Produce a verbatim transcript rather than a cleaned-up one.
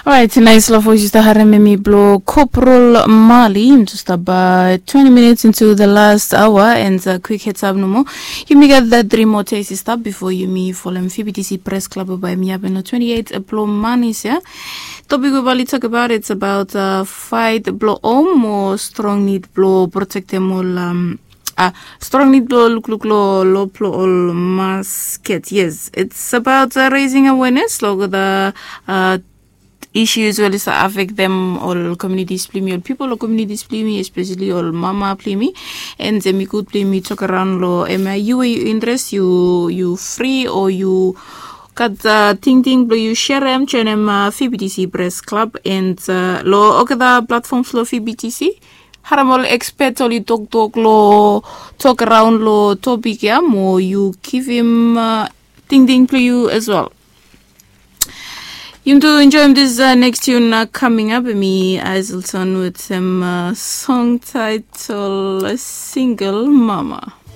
Orait, nais long voice yu stap harim em i blong Koprol Mali. Yumi tu stap twenti minits into the last hour and kwik heads up nomo. Yumi gat that three more days i stap bifo yumi folem V B T C Press Club bae mi hapen long twenti eight blong manis ya. Topik we bali tok abaot it's about uh, fight blong om o strong nid blong protektem ol um, uh, strong nid blong lukluk lo lo blong ol masket. Yes, it's about uh, raising awareness lo the uh, issues we oli sa affect them ol communities blong yumi, ol people ol communities blong yumi, especially ol mama blong yumi. And em i good blong yumi tok around lo em uh, yu we yu interest yu yu free o yu gat uh, tingting blong yu sherem joinem uh, V B T C Press Club and uh, lo olgeta platforms lo V B T C. Harim ol expert oli toktok lo tok around lo topik ya mo yu givim uh, tingting blong yu as well. Yumi tu enjoim this uh, next tune uh, coming up mi Aizelton with some uh, song title Single Mama.